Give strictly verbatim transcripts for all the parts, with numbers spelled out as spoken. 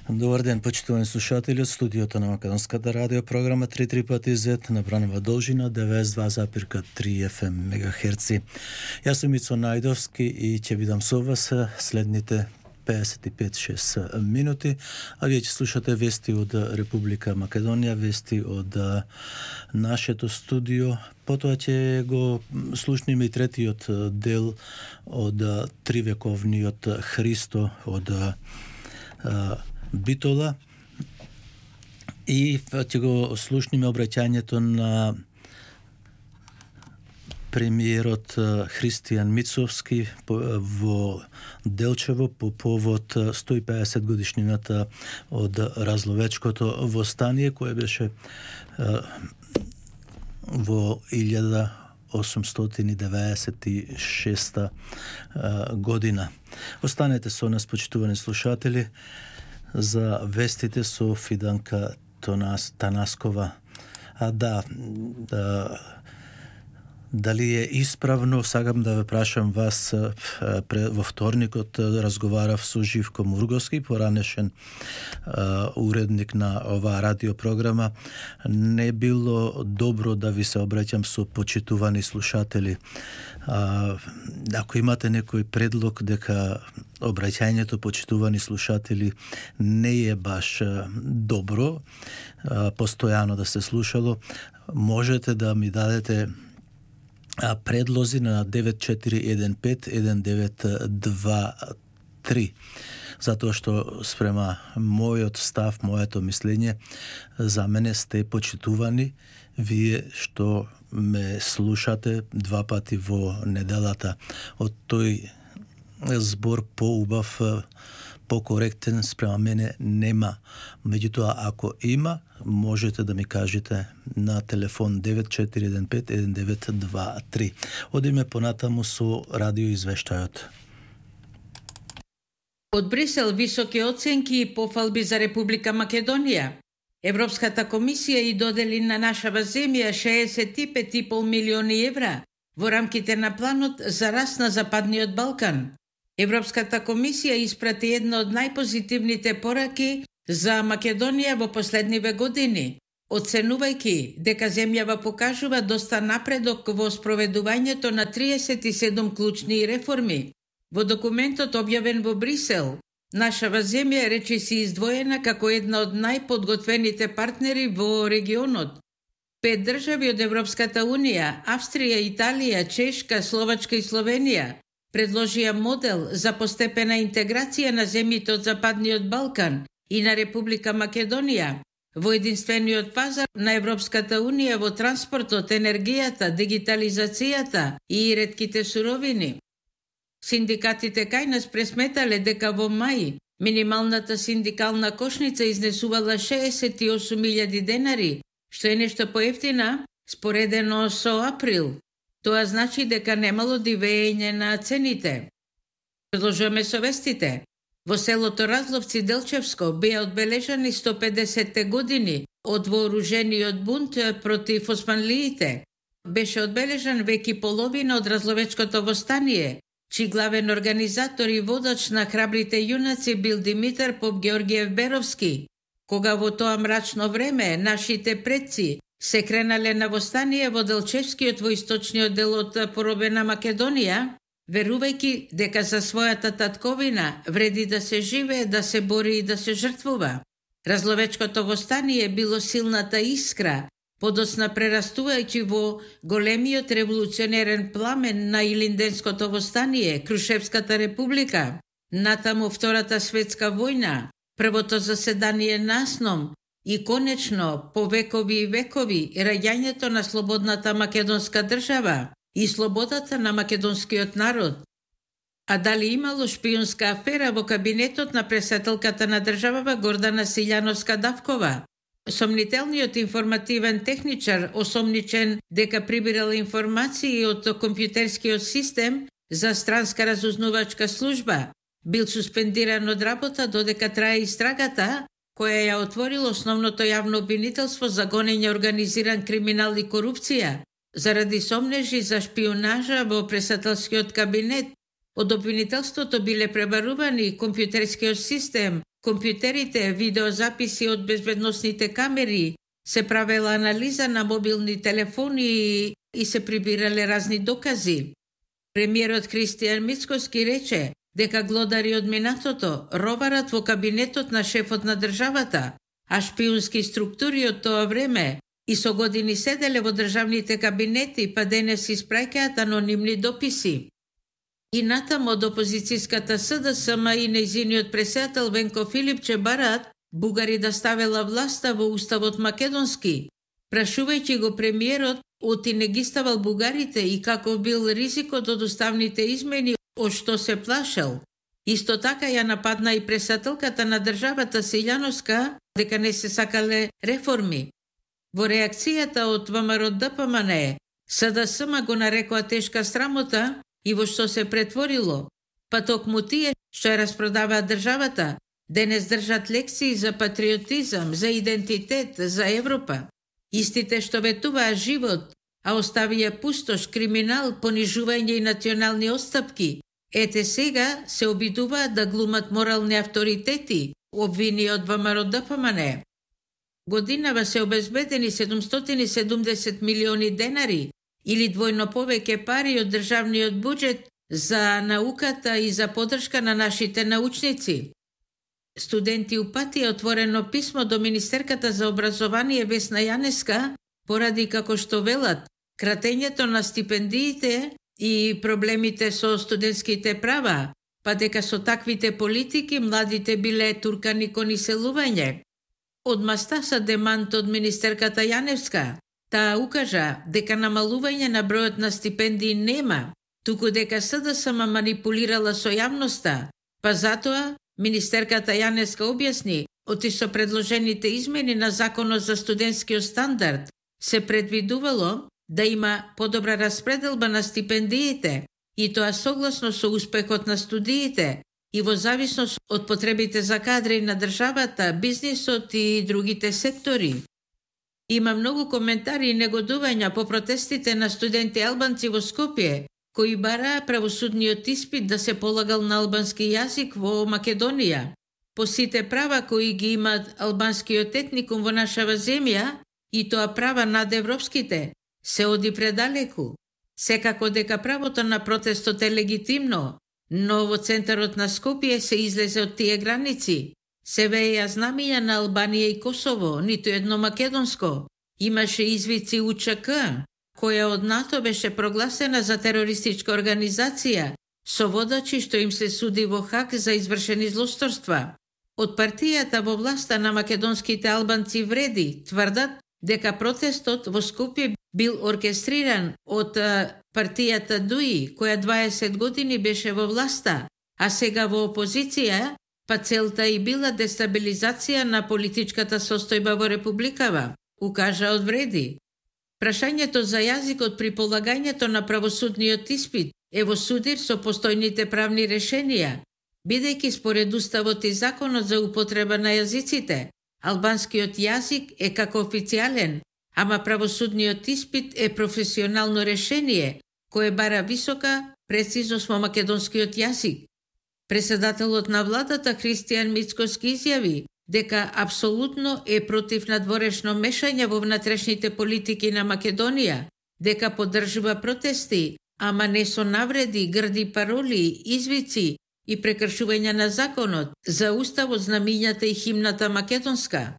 Добар ден, почитувани слушатели од студиото на Македонската радио програма три три пати зет на бранова должина деветдесет и два запир три еф ем мегахерци. Јас сум Ицо Најдовски и ќе бидам со вас следните педесет и пет шест минути, а вие ќе слушате вести од Република Македонија, вести од нашето студио. Потоа ќе го слушниме и третиот дел од тривековниот Христо од Битола и ќе го слушниме обраќањето на премиерот Христијан Мицовски во Делчево по повод сто и педесет годишнината од Разловечкото востание, кое беше во илјада осумстотини деветдесет и шеста година. Останете со нас, почитувани слушатели, за вестите со Фиданка Танаскова. А да, да дали е исправно, сакам да ве прашам вас, во вторникот разговарав со Живко Мурговски, поранешен уредник на оваа радиопрограма. Не било добро да ви се обраќам со почитувани слушатели. Ако имате некој предлог дека обраќањето почитувани слушатели не е баш добро, постојано да се слушало, можете да ми дадете предлози на девет четири еден пет еден девет два три, затоа што спрема мојот став, моето мислење, за мене сте почитувани вие што ме слушате два пати во неделата. Од тој збор поубав, покоректен спрема мене нема. Меѓутоа, ако има, можете да ми кажете на телефон девет четири еден пет еден девет два три. Одиме понатаму со радио извештајот. Од Брисел високи оценки и пофалби за Република Македонија. Европската комисија и додели на нашава земја шеесет и пет и пол милиони евра во рамките на планот за раст на Западниот Балкан. Европската комисија испрати една од најпозитивните пораки за Македонија во последниве години, оценувајќи дека земјава покажува доста напредок во спроведувањето на триесет и седум клучни реформи. Во документот објавен во Брисел, нашава земја речиси издвоена како една од најподготвените партнери во регионот. Пет држави од Европската унија, Австрија, Италија, Чешка, Словачка и Словенија, предложија модел за постепена интеграција на земјите од Западниот Балкан и на Република Македонија во единствениот пазар на Европската унија во транспортот, енергијата, дигитализацијата и ретките суровини. Синдикатите кај нас пресметале дека во мај минималната синдикална кошница изнесувала шеесет и осум илјади денари, што е нешто поевтина споредено со април. Тоа значи дека немало дивење на цените. Продолжуваме со вестите. Во селото Разловци Делчевско беа одбележани сто педесет години од вооружениот бунт против османлиите. Беше одбележан веќе половина од Разловечкото востание, чиј главен организатор и водач на храбрите јунаци бил Димитар Поп Георгиев Беровски. Кога во тоа мрачно време нашите предци се кренале на востание во Делчевскиот во источниот дел од поробена Македонија, верувајќи дека за својата татковина вреди да се живее, да се бори и да се жртвува. Разловечкото востание било силната искра, подоцна прерастувајќи во големиот револуционерен пламен на Илинденското востание, Крушевската република, натаму Втората светска војна, првото заседание на СНОМ и конечно, по векови и векови, раѓањето на слободната македонска држава и слободата на македонскиот народ. А дали имало шпионска афера во кабинетот на председателката на државава Гордана Силјановска-Давкова? Сомнителниот информативен техничар осомничен дека прибирал информации од компјутерскиот систем за странска разузнувачка служба, бил суспендиран од работа додека трае истрагата, која ја отворил основното јавно обвинителство за гонење организиран криминал и корупција, заради сомнежи за шпионажа во председателскиот кабинет. Од обвинителството биле пребарувани компјутерскиот систем компјутерите, видеозаписи од безбедносните камери, се правела анализа на мобилни телефони и се прибирале разни докази. Премиерот Христијан Мицкоски рече дека глодари од минатото роварат во кабинетот на шефот на државата, а шпиунски структури од тоа време и со години седеле во државните кабинети, па денес испраќаат анонимни дописи. И натаму од опозицијската СДСМ и нејзиниот председател Венко Филипче бараат бугари да ставела власта во уставот македонски, прашувајќи го премиерот оти не ги ставал бугарите и како бил ризикот од уставните измени, од што се плашел. Исто така ја нападна и председателката на државата Силјановска дека не се сакале реформи. Во реакцијата од ВМРО-ДПМНЕ, СДСМ го нарекоа тешка срамота и во што се претворило, па токму тие што ја распродаваат државата, денес држат лекции за патриотизам, за идентитет, за Европа. Истите што ветуваа живот, а оставија пустош, криминал, понижување и национални отстапки, ете сега се обидуваат да глумат морални авторитети, обвини од ВМРО-ДПМНЕ. Годинава се обезбедени седумстотини и седумдесет милиони денари или двојно повеќе пари од државниот буџет за науката и за поддршка на нашите научници. Студенти упатија отворено писмо до Министерката за образование Весна Јанеска поради, како што велат, кратењето на стипендиите и проблемите со студентските права, па дека со таквите политики младите биле туркани кон иселување. Одмаста са демант од министерката Јаневска. Таа укажа дека намалување на бројот на стипендии нема, туку дека СДСМ манипулирала со јавноста, па затоа министерката Јаневска објасни, оти со предложените измени на Законот за студентскиот стандард се предвидувало да има подобра распределба на стипендиите и тоа согласно со успехот на студиите и во зависност од потребите за кадри на државата, бизнисот и другите сектори. Има многу коментари и негодувања по протестите на студенти албанци во Скопје, кои бараа правосудниот испит да се полагал на албански јазик во Македонија. По сите права кои ги имаат албанскиот етникум во нашава земја, и тоа права над европските, се оди предалеку. Секако дека правото на протестот е легитимно, но во центарот на Скопје се излезе од тие граници. Се вееја знамиња на Албанија и Косово, ниту едно македонско. Имаше извици УЧК, која од НАТО беше прогласена за терористичка организација, со водачи што им се суди во Хаг за извршени злосторства. Од партијата во власта на македонските албанци Вреди тврдат дека протестот во Скопје бил оркестриран од партијата ДУИ, која дваесет години беше во власта, а сега во опозиција, па целта и била дестабилизација на политичката состојба во републикава, укажа од Вреди. Прашањето за јазикот при полагањето на правосудниот испит е во судир со постојните правни решенија, бидејќи според Уставот и Законот за употреба на јазиците, албанскиот јазик е како официјален, ама правосудниот испит е професионално решение, кое бара висока прецизност во македонскиот јазик. Председателот на владата Христијан Мицкоски изјави дека апсолутно е против надворешно мешање во внатрешните политики на Македонија, дека поддржува протести, ама не со навреди, грди пароли, извици и прекршување на законот за уставот, знамињата и химната македонска.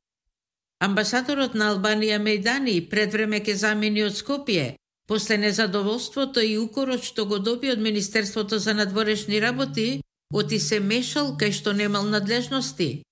Амбасадорот на Албанија Мејдани пред време ке замени од Скопје, после незадоволството и укорот што го доби од Министерството за надворешни работи, оти се мешал кај што немал надлежности.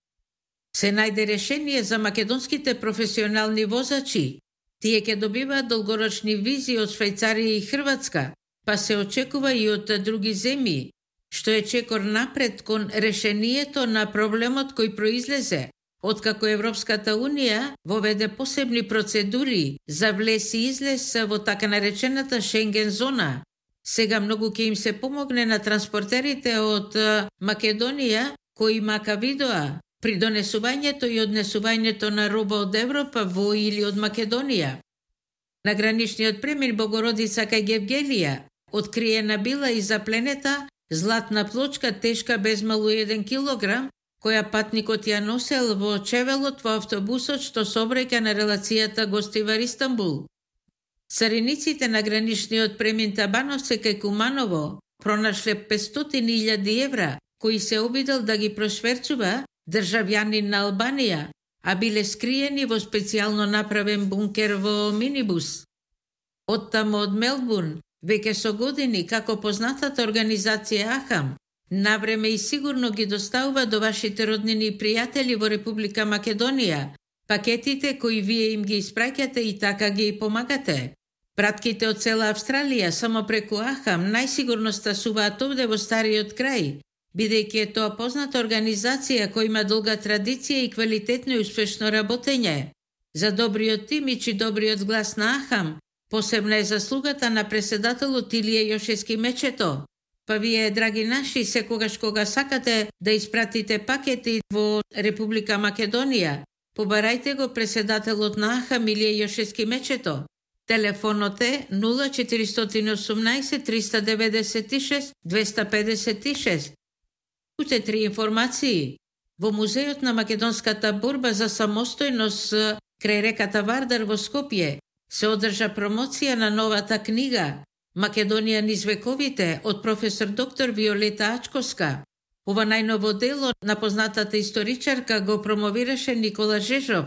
Се најде решение за македонските професионални возачи. Тие ќе добиваат долгорочни визи од Швајцарија и Хрватска, па се очекува и од други земји, што е чекор напред кон решението на проблемот кој произлезе откако Европската Унија воведе посебни процедури за влез и излез во така наречената Шенген зона. Сега многу ќе им се помогне на транспортерите од Македонија кои мака видоа при донесувањето и однесувањето на роба од Европа во или од Македонија. На граничниот премин Богородица кај Гевгелија откриена била и запленета златна плочка тешка безмалу еден килограм, која патникот ја носел во чевелот во автобусот што сообраќа на релацијата Гостивар-Истанбул. Цариниците на граничниот премин Табановце кај Куманово пронашле петстотини илјади евра, кои се обидел да ги прошверцува државјанин на Албанија, а биле скриени во специјално направен бункер во минибус. Оттаму од Мелбурн, веќе со години, како познатата организација Ахам, навреме и сигурно ги доставува до вашите роднини и пријатели во Република Македонија пакетите кои вие им ги испраќате и така ги помагате. Пратките од цела Австралија само преку Ахам најсигурно стасуваат овде во стариот крај, бидејќи е тоа позната организација која има долга традиција и квалитетно и успешно работење. За добриот имидж и добриот глас на Ахам посебна е заслугата на преседателот Илија Јошевски Мечето. Па вие, драги наши, секогаш кога сакате да испратите пакети во Република Македонија, побарајте го преседателот на Ахам Илија Јошевски Мечето. Телефонот е нула четиристотини и осумнаесет триста деветдесет и шест двеста педесет и шест. Уште три информации. Во Музејот на македонската борба за самостојност крај реката Вардар во Скопје се одржа промоција на новата книга Македонија низ вековите од професор доктор Виолета Ачковска. Ова најново дело на познатата историчарка го промовираше Никола Жежов.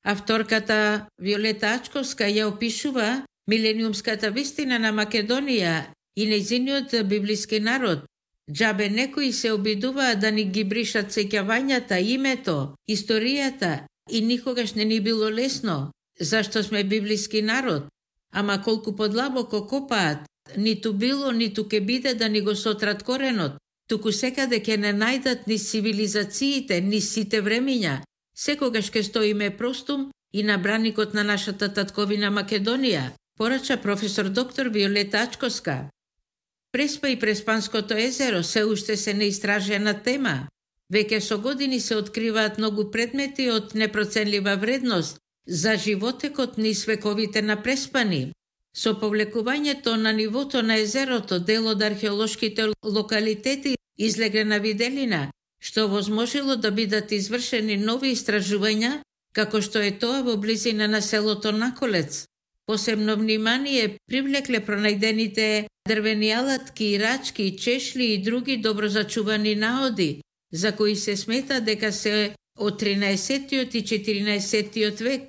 Авторката Виолета Ачковска ја опишува милениумската вистина на Македонија и нејзиниот библиски народ. Џабе некои се обидуваа да ни ги бришат сеќавањата, името, историјата и никогаш не ни било лесно, зашто сме библиски народ. Ама колку подлабоко копаат, ниту било, ниту ке биде да ни го сотрат коренот, туку секаде ке не најдат ни цивилизациите, ни сите времиња. Секогаш ке стоиме простум и на браникот на нашата татковина Македонија, порача професор доктор Виолета Ачковска. Преспа и Преспанското езеро се уште се неистражена тема. Веќе со години се откриваат многу предмети од непроценлива вредност за животекот низ вековите на Преспани. Со повлекувањето на нивото на езерото, дел од археолошките локалитети излегле на виделина, што возможело да бидат извршени нови истражувања, како што е тоа во близина на селото Наколец. Посебно внимание привлекле пронајдените дрвени алатки, рачки, чешли и други добро зачувани наоди, за кои се смета дека се од тринаесеттиот и четиринаесеттиот век.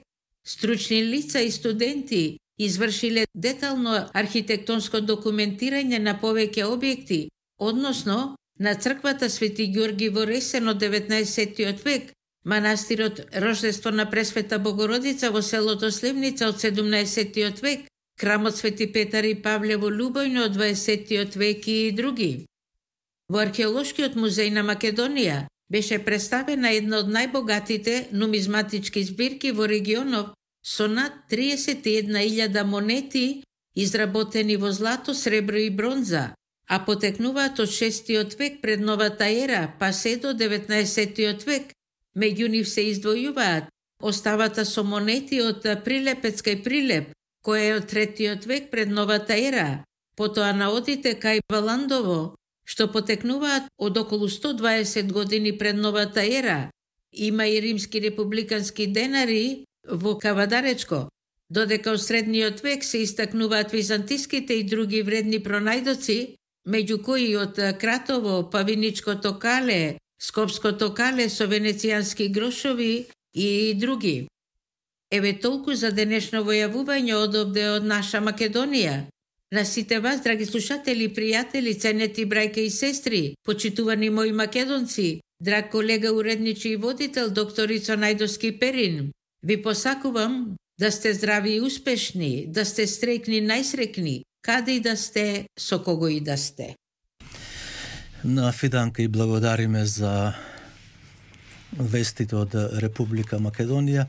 Стручни лица и студенти извршиле детално архитектонско документирање на повеќе објекти, односно на црквата Свети Ѓорги во Ресен од деветнаесеттиот век, манастирот Рождество на Пресвета Богородица во селото Сливница од седумнаесеттиот век, храмот Свети Петар и Павле во Лубојно од дваесеттиот век и други. Во Археолошкиот музеј на Македонија беше представена една од најбогатите нумизматички збирки во регионов со над триесет и една илјада монети изработени во злато, сребро и бронза, а потекнуваат од шестиот век пред новата ера, па се до деветнаесеттиот век. Меѓу нив се издвојуваат оставата со монети од Прилепецка и Прилеп, која е од третиот век пред новата ера, потоа наодите кај Валандово, што потекнуваат од околу сто дваесет години пред новата ера. Има и римски републикански денари во Кавадаречко, додека од средниот век се истакнуваат византиските и други вредни пронајдоци, меѓу кои од Кратово, Павиничкото кале, Скопското кале со венецијански грошови и други. Еве толку за денешно војавување од овде од наша Македонија. На сите вас, драги слушатели, пријатели, ценети брајке и сестри, почитувани мои македонци, драг колега, уредничи и водител, доктор Ицо Најдовски Перин, ви посакувам да сте здрави и успешни, да сте среќни, најсреќни, каде и да сте, со кого и да сте. На Фиданка и благодариме за вестите од Република Македонија.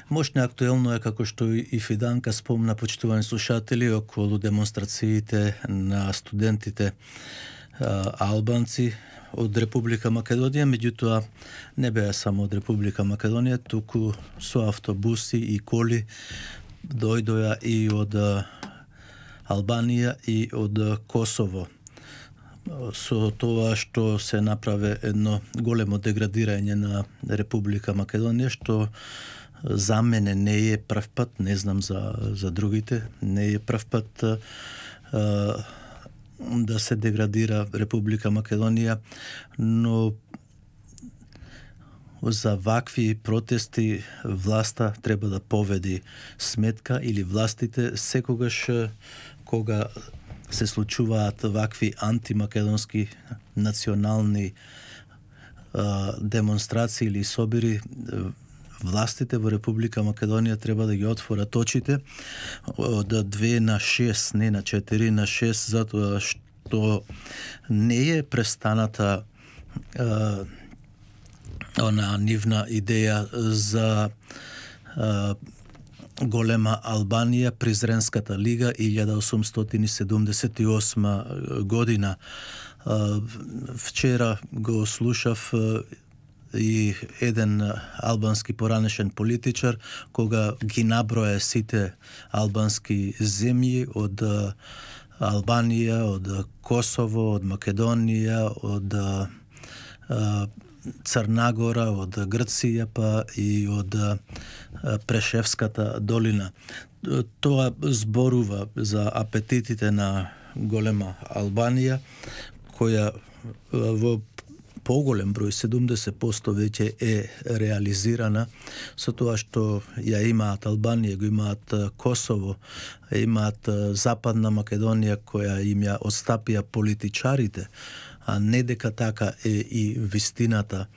Мощно актуелно е, како што и Фиданка спомна, почитувани слушатели, околу демонстрациите на студентите а, албанци од Република Македонија, меѓутоа не беа само од Република Македонија, туку со автобуси и коли дојдоа и од Албанија и од Косово. со тоа што се направи едно големо деградирање на Република Македонија, што за мене не е прв пат, не знам за, за другите, не е прв пат а, да се деградира Република Македонија, но за вакви протести власта треба да поведи сметка, или властите секогаш кога се случуваат вакви антимакедонски национални а, демонстрации или собири, властите во Република Македонија треба да ги отворат очите од две на шест, не на четири на шест, затоа што не е престаната а, она нивна идеја за а, голема Албанија, Призренската лига илјада осумстотини седумдесет и осма година. А, вчера го слушав и еден албански поранешен политичар кога ги наброја сите албански земји од Албанија, од Косово, од Македонија, од а, Црнагора, од Грција, па и од Прешевската долина. Тоа зборува за апетитите на голема Албанија, која во поголем број, седумдесет проценти веќе е реализирана, со тоа што ја имаат Албанија, го имаат Косово, имаат Западна Македонија која им ја отстапија политичарите, а не дека така е и вистината.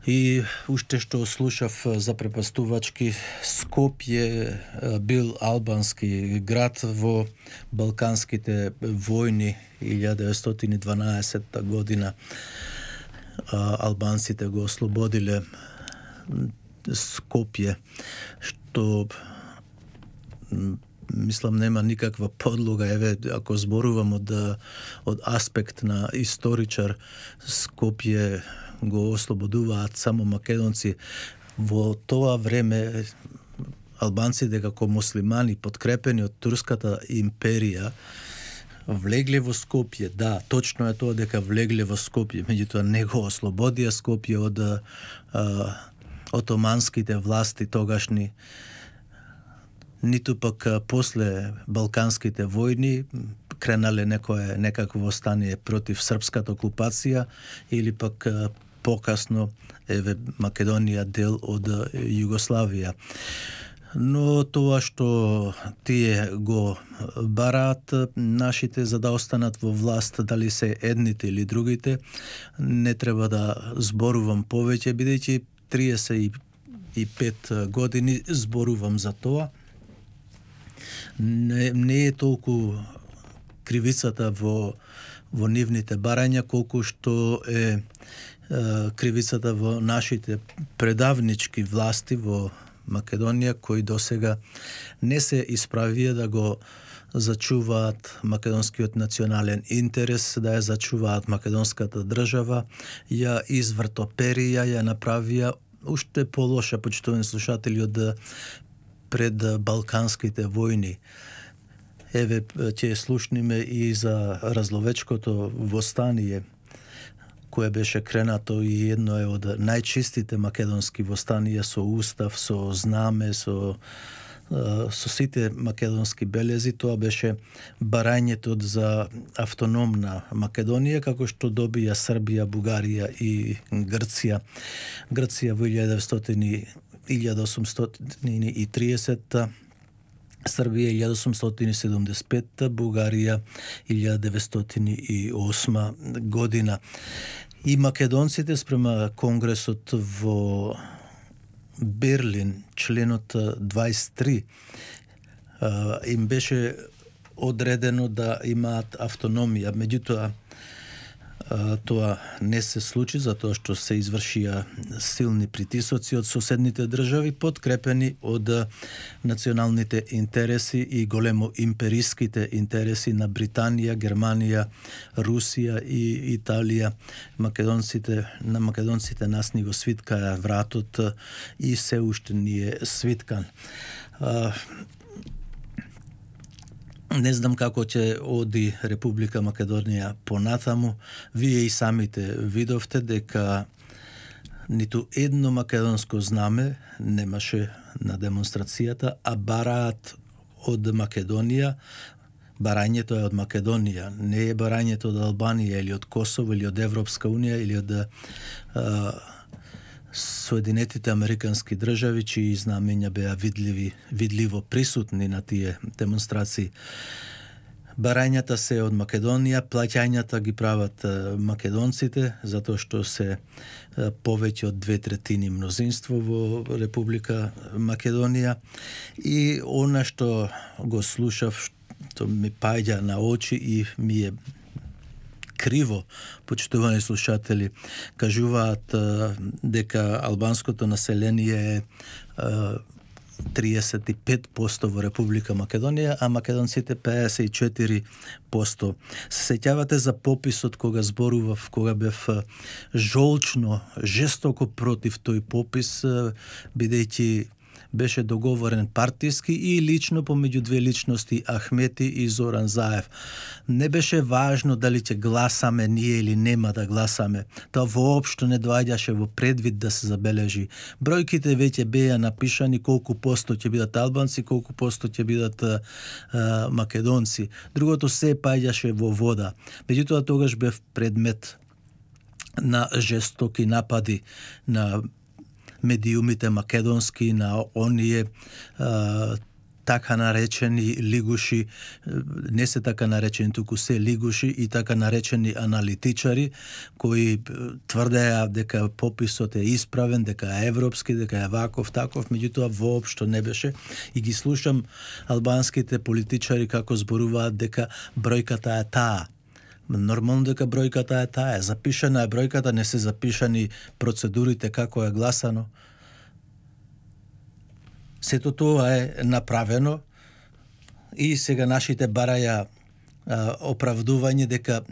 И уште што слушав запрепастувачки, Скопје бил албански град во Балканските војни илјада деветстотини и дванаесетта година. Албанците го ослободиле Скопје, што мислам нема никаква подлога. Еве, ако зборувам од, од аспект на историчар, Скопје го ослободуваат само македонци. Во тоа време албанците како муслимани, подкрепени од Турската империја, влегле во Скопје. Да, точно е тоа дека влегле во Скопје, меѓутоа не го ослободија Скопје од а, отоманските власти тогашни, ниту пак после Балканските војни кренале некое некакво востание против српската окупација, или пак покасно еве Македонија дел од Југославија. Но тоа што тие го бараат нашите за да останат во власт, дали се едните или другите, не треба да зборувам повеќе, бидејќи триесет и пет години зборувам за тоа. Не, не е толку кривицата во, во нивните барања, колку што е, е кривицата во нашите предавнички власти во Македонија, кои досега не се исправија да го зачуваат македонскиот национален интерес, да ја зачуваат македонската држава, ја извртоперија, ја направија уште полоша, почитувани слушатели, од пред Балканските војни. Еве, ќе слушниме и за разловечкото востание, кое беше кренато и едно е од најчистите македонски востанија, со устав, со знаме, со, со сите македонски белези. Тоа беше барањето за автономна Македонија, како што добија Србија, Бугарија и Грција. Грција во илјада осумстотини и тридесетта, Србија илјада осумстотини и седумдесет и петта, Бугарија илјада деветстотини и осма година. И македонците спрема Конгресот во Берлин, членот дваесет и три, им беше одредено да имаат автономија. Меѓутоа, тоа не се случи, затоа што се извршија силни притисоци од соседните држави, подкрепени од националните интереси и големо империските интереси на Британија, Германија, Русија и Италија. Македонците, на македонците нас ни го свиткаа вратот и се уште ни е свиткан. Не знам како ќе оди Република Македонија понатаму. Вие и самите видовте дека ниту едно македонско знаме немаше на демонстрацијата, а бараат од Македонија. Барањето е од Македонија, не е барањето од Албанија или од Косово или од Европска унија или од а, Соединетите Американски држави, чии знамења беа видливи, видливо присутни на тие демонстрации. Барањата се од Македонија, плаќањата ги прават македонците, затоа што се повеќе од две третини мнозинство во Република Македонија. И она што го слушав, што ми паѓа на очи и ми е криво, почитувани слушатели, кажуваат дека албанското население е триесет и пет проценти во Република Македонија, а македонците пеесет и четири проценти. Се сеќавате за пописот кога зборував, кога бев жолчно, жестоко против тој попис, бидејќи беше договорен партиски и лично помеѓу две личности, Ахмети и Зоран Заев. Не беше важно дали ќе гласаме ние или нема да гласаме. Тоа воопшто не доаѓаше во предвид да се забележи. Бројките веќе беа напишани колку посто ќе бидат албанци, колку посто ќе бидат а, а, македонци. Другото се паѓаше во вода. Меѓутоа тогаш бев предмет на жестоки напади на медиумите македонски, на оние а, така наречени лигуши, не се така наречени, туку се лигуши и така наречени аналитичари, кои тврдеа дека пописот е исправен, дека е европски, дека е ваков, таков, меѓутоа воопшто не беше. И ги слушам албанските политичари како зборуваат дека бројката е таа. Нормално дека бројката е таа. Запишана е бројката, не се запишани процедурите како е гласано. Сето тоа е направено и сега нашите бараја а, оправдување дека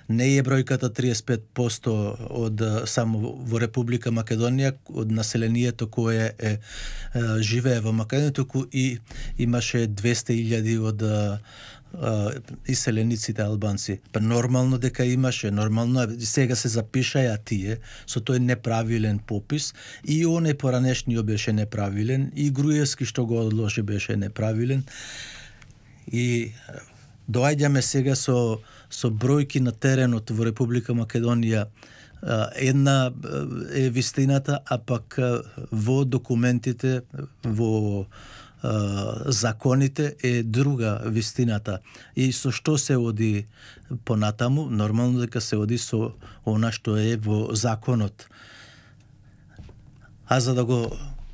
не е бројката триесет и пет проценти од само во Република Македонија, од населението кое е, е живее во Македонија, туку и имаше двесте илјади од иселениците албанци. Па нормално дека имаше, нормално е, сега се запишаја тие со тој неправилен попис и оне поранешниот беше неправилен и Груевски што го одложи беше неправилен. И доаѓаме сега со со бројки на теренот во Република Македонија. Една е вистината, а пак во документите, во законите е друга вистината. И со што се оди понатаму, нормално дека се оди со она што е во законот. А за да го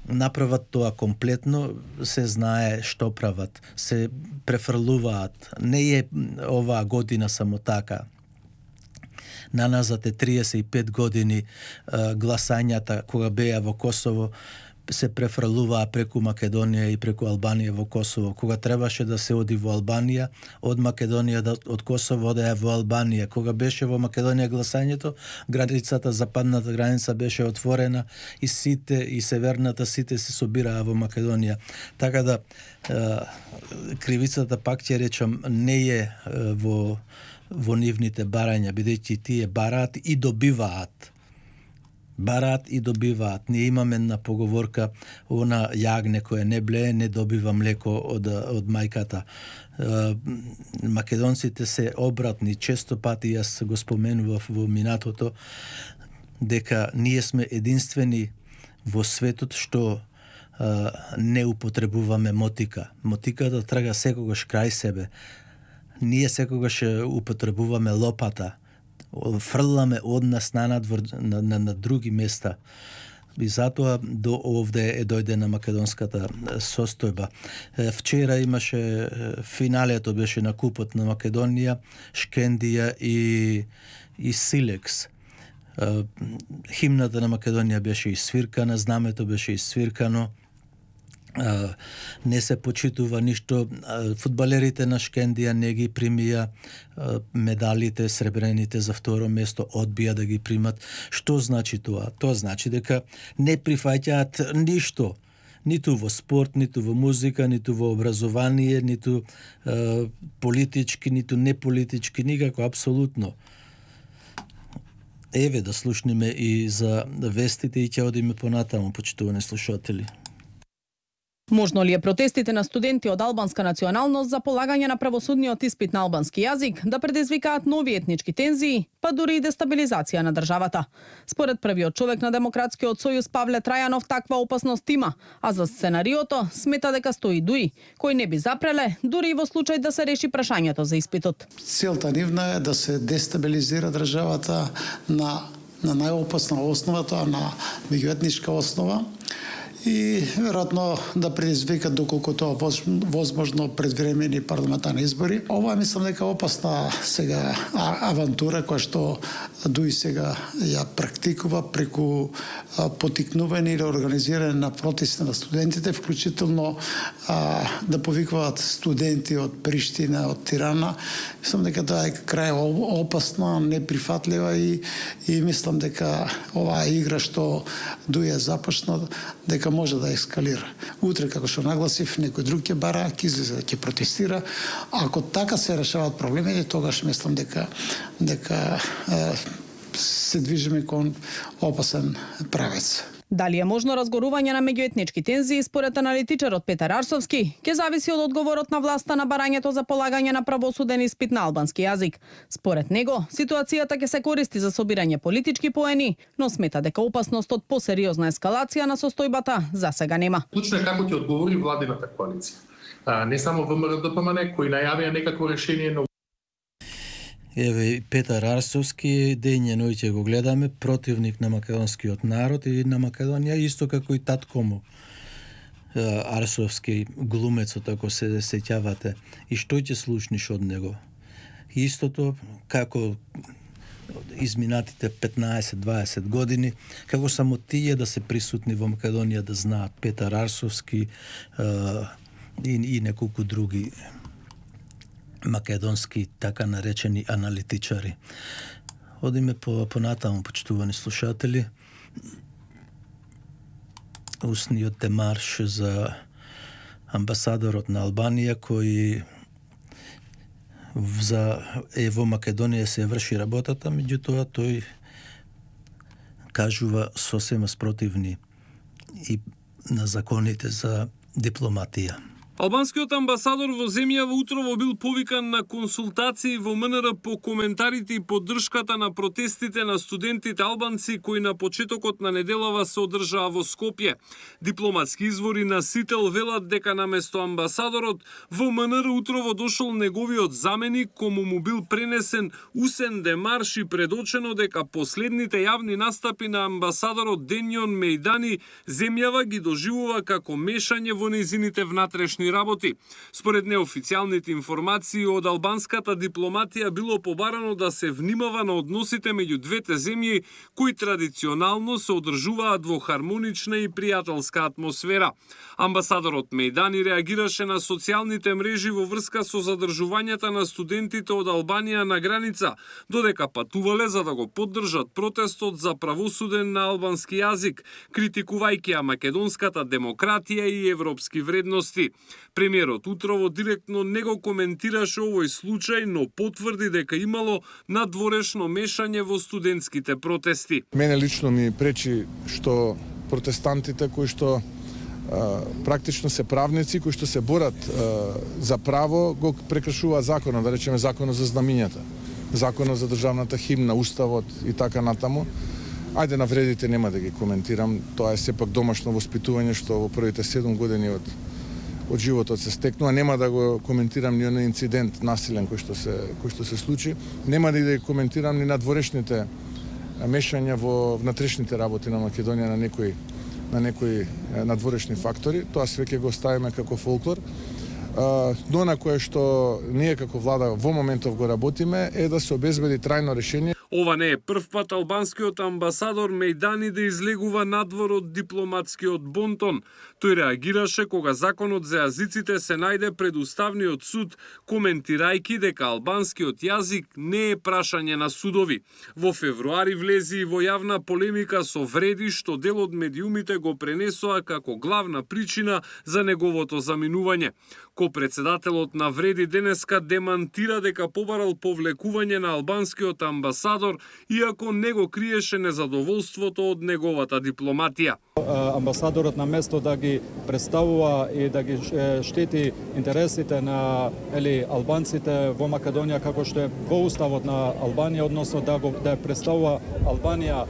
направат тоа комплетно, се знае што прават. Се префрлуваат. Не е оваа година само така. Наназад е триесет и пет години гласањата кога беа во Косово, се префрлуваа преку Македонија и преку Албанија во Косово. Кога требаше да се оди во Албанија, од Македонија, од Косово одеа во Албанија. Кога беше во Македонија гласањето, границата, западната граница беше отворена и сите, и северната сите се собираа во Македонија. Така да, кривицата, пак ќе речам, не е во, во нивните барања, бидејќи тие бараат и добиваат. Бараат и добиваат. Ние имаме една поговорка, она јагне кое не блее, не добива млеко од, од мајката. Македонците се обратни. Често пати јас го споменував во минатото дека ние сме единствени во светот што а, не употребуваме мотика. Мотиката трага секогаш крај себе. Ние секогаш употребуваме лопата. Фрламе од нас на надвор на, на, на други места. И затоа до овде е дојде на македонската состојба. Вчера имаше финалето, беше на Купот на Македонија, Шкендија и, и Силекс. Химната на Македонија беше исвиркана, знамето беше исвиркано. Uh, не се почитува ништо. Uh, фудбалерите на Шкендија не ги примија uh, медалите, сребрените за второ место, одбија да ги примат. Што значи тоа? Тоа значи дека не прифаќаат ништо. ниту во спорт, ниту во музика, ниту во образование, ниту е, политички, ниту неполитички, никако, апсолутно. Еве да слушнеме и за вестите и ќе одиме понатаму, почитувани слушатели. Можно ли е протестите на студенти од албанска националност за полагање на правосудниот испит на албански јазик да предизвикаат нови етнички тензии, па дури и дестабилизација на државата? Според првиот човек на Демократскиот сојуз Павле Трајанов, таква опасност има, а за сценариото смета дека стои Дуи, кој не би запреле дури и во случај да се реши прашањето за испитот. Целта нивна е да се дестабилизира државата на на најопасна основа, тоа на меѓуетничка основа, и веројатно да предизвика доколку тоа возможно предвремени парламентарни избори. Ова мислам дека опасна сега авантура која што Дуи сега ја практикува преку потикнување или организирање на протести на студентите, вклучително а, да повикваат студенти од Приштина, од Тирана. Мислам дека тоа е крај опасна, неприфатлива и, и мислам дека оваа игра што Дуи ја започна, дека може да ескалира. Утре, како што нагласив, некој друг ќе бара, ќе излезе, ќе протестира. Ако така се решаваат проблемите, тогаш мислам дека дека е, се движиме кон опасен правец. Дали е можно разгорување на меѓуетнички тензии, според аналитичарот Петар Арсовски, ќе зависи од одговорот на власта на барањето за полагање на правосуден испит на албански јазик. Според него, ситуацијата ќе се користи за собирање политички поени, но смета дека опасност од посериозна ескалација на состојбата за сега нема. Клучно е како ќе одговори владината коалиција. А, не само ВМРО-ДПМН кои најавија некакво решение, но Еве Петар Арсовски, ден и ноќе го гледаме, противник на македонскиот народ и на Македонија, исто како и татко му. Арсовски, глумецот, ако се сеќавате. И што ќе слушниш од него? Истото како изминатите петнаесет-дваесет години, како само тие да се присутни во Македонија да знаат Петар Арсовски и, и неколку други македонски така наречени аналитичари. Одиме по понатаму, почитувани слушатели. Устниот демарш за амбасадорот на Албанија кој за е во Македонија се врши работата, меѓутоа тој кажува сосема спротивни и на законите за дипломатија. Албанскиот амбасадор во земјава утрово бил повикан на консултации во МНР по коментарите и поддршката на протестите на студентите албанци кои на почетокот на неделава се одржаа во Скопје. Дипломатски извори на Сител велат дека наместо амбасадорот во МНР утрово дошол неговиот заменик, кому му бил пренесен усен демарш и предочено дека последните јавни настапи на амбасадорот Денјон Мејдани земјава ги доживува како мешање во нејзините внатрешни работи. Според неофицијалните информации од албанската дипломатија било побарано да се внимава на односите меѓу двете земји кои традиционално се одржуваат во хармонична и пријателска атмосфера. Амбасадорот Мејдани реагираше на социјалните мрежи во врска со задржувањата на студентите од Албанија на граница, додека патувале за да го поддржат протестот за правосуден на албански јазик, критикувајќи ја македонската демократија и европски вредности. Премиерот утрово директно не го коментираше овој случај, но потврди дека имало надворешно мешање во студентските протести. Мене лично ми пречи што протестантите кои што а, практично се правници, кои што се борат а, за право, го прекршува законот, да речеме законот за знамињата, законот за државната химна, уставот и така натаму. Ајде на вредите нема да ги коментирам, тоа е сепак домашно воспитување што во првите седум години од од животот се стекнува, нема да го коментирам ни оној инцидент насилен кој што се кој што се случи, нема да и да ги коментирам ни надворешните мешања во внатрешните работи на Македонија на некои на некои надворешни фактори, тоа све ќе го ставиме како фолклор. Но на кое што ние како влада во моментов го работиме е да се обезбеди трајно решение. Ова не е прв пат албанскиот амбасадор Мејдани да излегува надвор од дипломатскиот бонтон. Тој реагираше кога законот за јазиците се најде пред Уставниот суд, коментирајќи дека албанскиот јазик не е прашање на судови. Во февруари влези и во јавна полемика со Вреди, што дел од медиумите го пренесоа како главна причина за неговото заминување. Ко-председателот на Вреди денеска демантира дека побарал повлекување на албанскиот амбасадор, иако не го криеше незадоволството од неговата дипломатија. Амбасадорот на место да ги представува и да ги штити интересите на ели албанците во Македонија, како што е во уставот на Албанија, односно да го да представува Албанија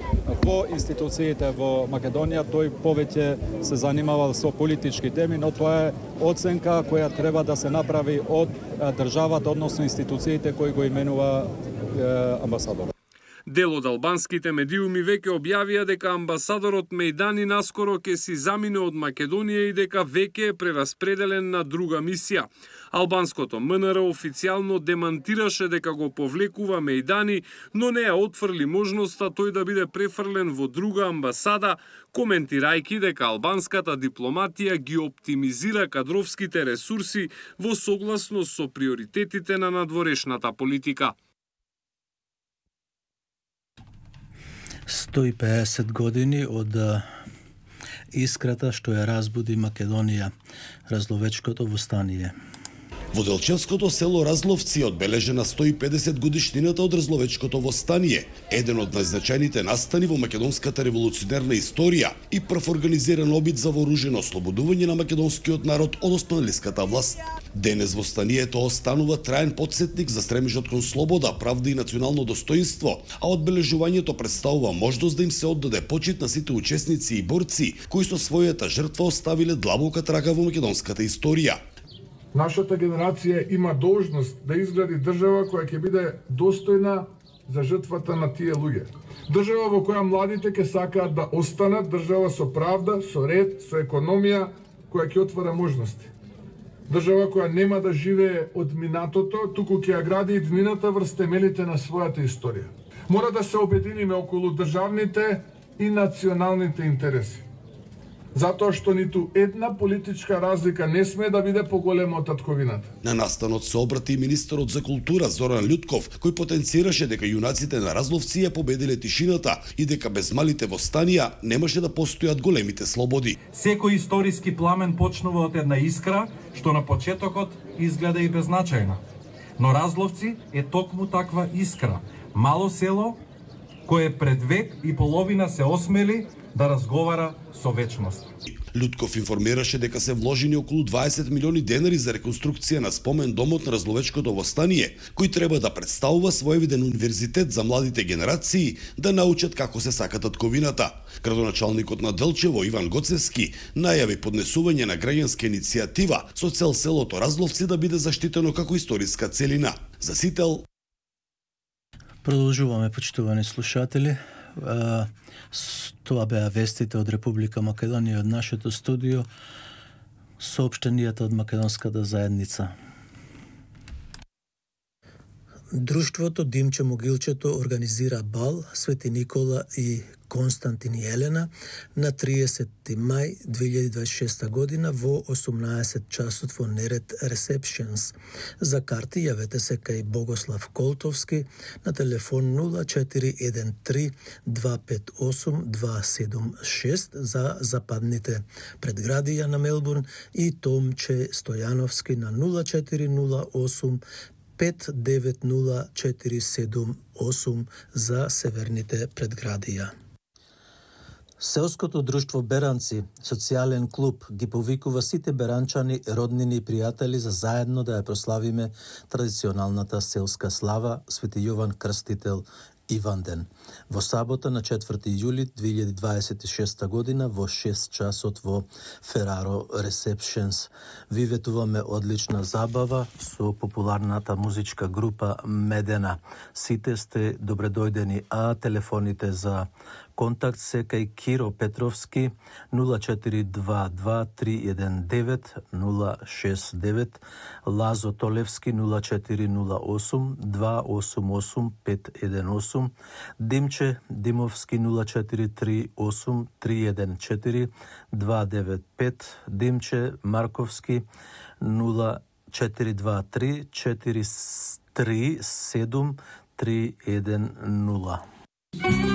во институциите во Македонија, тој повеќе се занимавал со политички теми, но тоа е оценка која треба да се направи од државата, односно институциите кои го именува амбасадорот. Дел од албанските медиуми веќе објавија дека амбасадорот Мејдани наскоро ќе си замине од Македонија и дека веќе е прераспределен на друга мисија. Албанското МНР официјално демантираше дека го повлекува Мејдани, но не ја отфрли можноста тој да биде префрлен во друга амбасада, коментирајќи дека албанската дипломатија ги оптимизира кадровските ресурси во согласност со приоритетите на надворешната политика. сто и педесет години од искрата што ја разбуди Македонија, Разловечкото востание. Во Делчевското село Разловци одбележена сто и педесет годишнината од Разловечкото востание, еден од најзначајните настани во македонската револуционерна историја и прв организиран обид за вооружено ослободување на македонскиот народ од османлиската власт. Денес востанието останува траен потсетник за стремежот кон слобода, правда и национално достоинство, а одбележувањето представува можност да им се оддаде почит на сите учесници и борци кои со својата жртва оставиле длабока трага во македонската историја. Нашата генерација има должност да изгради држава која ќе биде достојна за жртвата на тие луѓе. Држава во која младите ќе сакаат да останат, држава со правда, со ред, со економија која ќе отвара можности. Држава која нема да живее од минатото, туку ќе ја гради иднината врз темелите на својата историја. Мора да се обединиме околу државните и националните интереси. Затоа што ниту една политичка разлика не сме да биде поголема од татковината. На настанот се обрати и министерот за култура Зоран Љутков, кој потенцираше дека јунаците на Разловци ја победиле тишината и дека без малите востанија немаше да постојат големите слободи. Секој историски пламен почнува од една искра, што на почетокот изгледа и беззначајна. Но Разловци е токму таква искра. Мало село кое пред век и половина се осмели да разговара со вечност. Љутков информираше дека се вложени околу дваесет милиони денари за реконструкција на спомен домот на Разловечкото востание, кој треба да представува своевиден универзитет за младите генерации да научат како се сака татковината. Градоначалникот на Делчево Иван Гоцевски најави поднесување на граѓанска иницијатива со цел селото Разловци да биде заштитено како историска целина. За сител Продолжуваме, почитувани слушатели. Тоа беа вестите од Република Македонија од нашето студио, соопштенијата од македонската заедница. Друштвото Димче Могилчето организира бал Свети Никола и Константин и Елена на триесетти мај две илјади дваесет и шеста година во осумнаесет часот во Нерет Receptions. За карти јавете се кај Богослав Колтовски на телефон нула четири еден три два пет осум два седум шест за западните предградија на Мелбурн и Томче Стојановски на нула четири нула осум пет девет нула четири седум осум за северните предградија. Селското друштво Беранци, социјален клуб, ги повикува сите беранчани, роднини и пријатели за заедно да ја прославиме традиционалната селска слава Свети Јован Крстител Иванден. Во сабота на четврти јули две илјади дваесет и шеста година во шест часот во Фераро Receptions. Ви ветуваме одлична забава со популарната музичка група Медена. Сите сте добредојдени, а телефоните за Контакт се кај Киро Петровски нула четири два два три еден девет нула шест девет, Лазо Толевски нула четири нула осум два осум осум пет еден осум, Димче Димовски нула четири три осум три еден четири два девет пет, Димче Марковски нула четири два три четири три седум три еден нула.